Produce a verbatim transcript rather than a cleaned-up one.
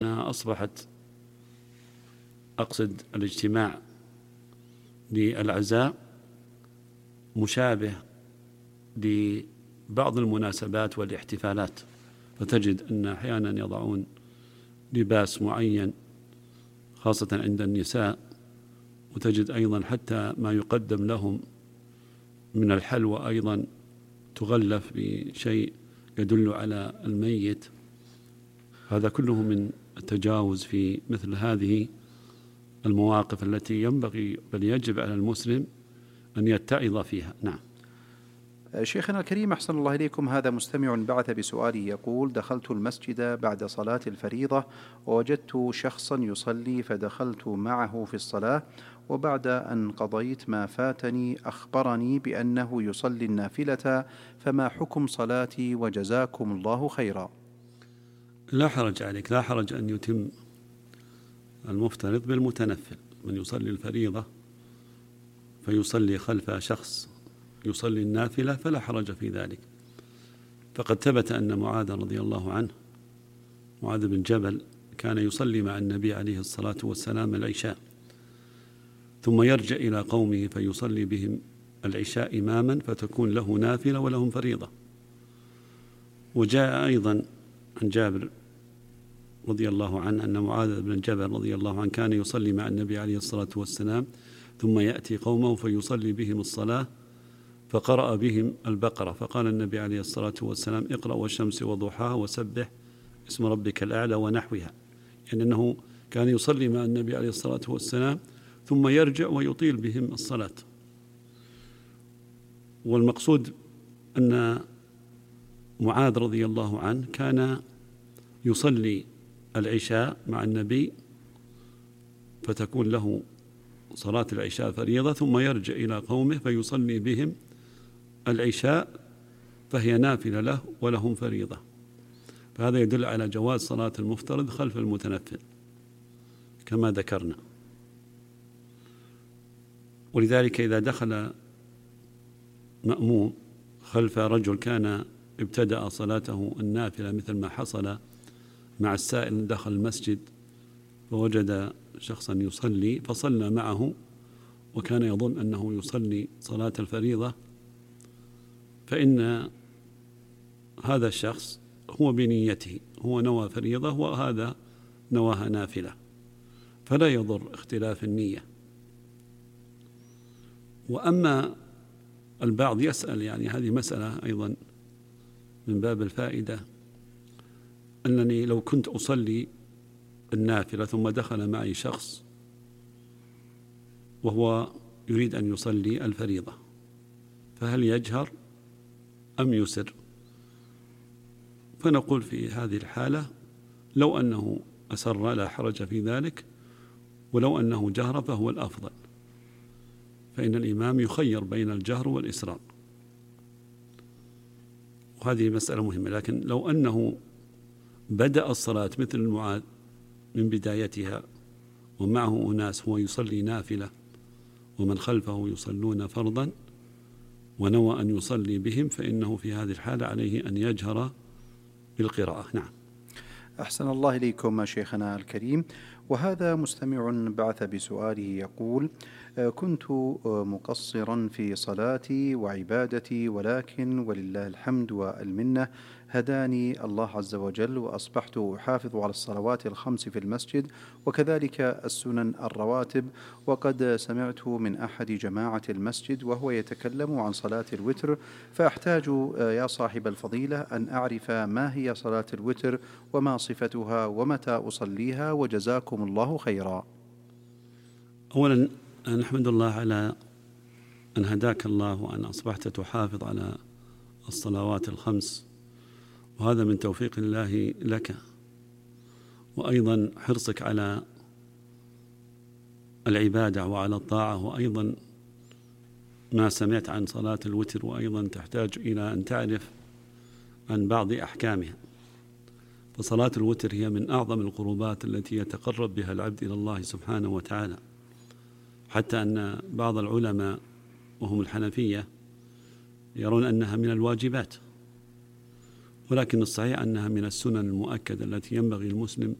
أصبحت أقصد الاجتماع للعزاء مشابه لبعض المناسبات والاحتفالات، فتجد أن أحيانا يضعون لباس معين خاصة عند النساء، وتجد أيضا حتى ما يقدم لهم من الحلوى أيضا تغلف بشيء يدل على الميت. هذا كله من التجاوز في مثل هذه المواقف التي ينبغي بل يجب على المسلم أن يتعظ فيها. نعم. شيخنا الكريم أحسن الله إليكم، هذا مستمع بعث بسؤاله يقول: دخلت المسجد بعد صلاة الفريضة ووجدت شخصا يصلي فدخلت معه في الصلاة، وبعد أن قضيت ما فاتني أخبرني بأنه يصلي النافلة، فما حكم صلاتي وجزاكم الله خيرا؟ لا حرج عليك، لا حرج أن يتم المفترض بالمتنفل. من يصلي الفريضة فيصلي خلف شخص يصلي النافلة فلا حرج في ذلك. فقد ثبت أن معاذ رضي الله عنه، معاذ بن جبل، كان يصلي مع النبي عليه الصلاة والسلام العشاء، ثم يرجع إلى قومه فيصلي بهم العشاء إماما، فتكون له نافلة ولهم فريضة. وجاء أيضا عن جابر رضي الله عنه أن معاذ بن جبل رضي الله عنه كان يصلي مع النبي عليه الصلاة والسلام، ثم يأتي قومه فيصلي بهم الصلاة، فقرأ بهم البقرة، فقال النبي عليه الصلاة والسلام: اقرأ والشمس وضحاها وسبح اسم ربك الأعلى ونحوها، يعني أنه كان يصلي مع النبي عليه الصلاة والسلام ثم يرجع ويطيل بهم الصلاة. والمقصود أن معاذ رضي الله عنه كان يصلي العشاء مع النبي، فتكون له صلاة العشاء فريضة، ثم يرجع إلى قومه فيصلي بهم العشاء، فهي نافلة له ولهم فريضة. فهذا يدل على جواز صلاة المفترض خلف المتنفل كما ذكرنا. ولذلك إذا دخل مأموم خلف رجل كان ابتدأ صلاته النافلة، مثل ما حصل مع السائل، دخل المسجد فوجد شخصا يصلي فصلى معه وكان يظن أنه يصلي صلاة الفريضة، فإن هذا الشخص هو بنيته، هو نوى فريضة وهذا نواها نافلة، فلا يضر اختلاف النية. وأما البعض يسأل، يعني هذه مسألة أيضا من باب الفائدة، أنني لو كنت أصلي النافلة ثم دخل معي شخص وهو يريد أن يصلي الفريضة، فهل يجهر أم يسر؟ فنقول في هذه الحالة لو أنه أسر لا حرج في ذلك، ولو أنه جهر فهو الأفضل، فإن الإمام يخير بين الجهر والإسرار، وهذه مسألة مهمة. لكن لو أنه بدأ الصلاة مثل معاذ من بدايتها ومعه أناس هو يصلي نافلة ومن خلفه يصلون فرضا ونوى أن يصلي بهم، فإنه في هذه الحالة عليه أن يجهر بالقراءة. نعم. أحسن الله إليكم شيخنا الكريم. وهذا مستمع بعث بسؤاله يقول: كنت مقصرا في صلاتي وعبادتي، ولكن ولله الحمد والمنة هداني الله عز وجل، وأصبحت أحافظ على الصلوات الخمس في المسجد وكذلك السنن الرواتب. وقد سمعت من أحد جماعة المسجد وهو يتكلم عن صلاة الوتر، فأحتاج يا صاحب الفضيلة أن أعرف ما هي صلاة الوتر وما صفتها ومتى أصليها، وجزاكم الله خيرا. أولا نحمد الله على أن هداك الله وأن أصبحت تحافظ على الصلوات الخمس، وهذا من توفيق الله لك، وأيضا حرصك على العبادة وعلى الطاعة، وأيضا ما سمعت عن صلاة الوتر، وأيضا تحتاج إلى أن تعرف عن بعض أحكامها. فصلاة الوتر هي من أعظم القربات التي يتقرب بها العبد إلى الله سبحانه وتعالى، حتى أن بعض العلماء وهم الحنفية يرون أنها من الواجبات، ولكن الصحيح أنها من السنن المؤكدة التي ينبغي المسلم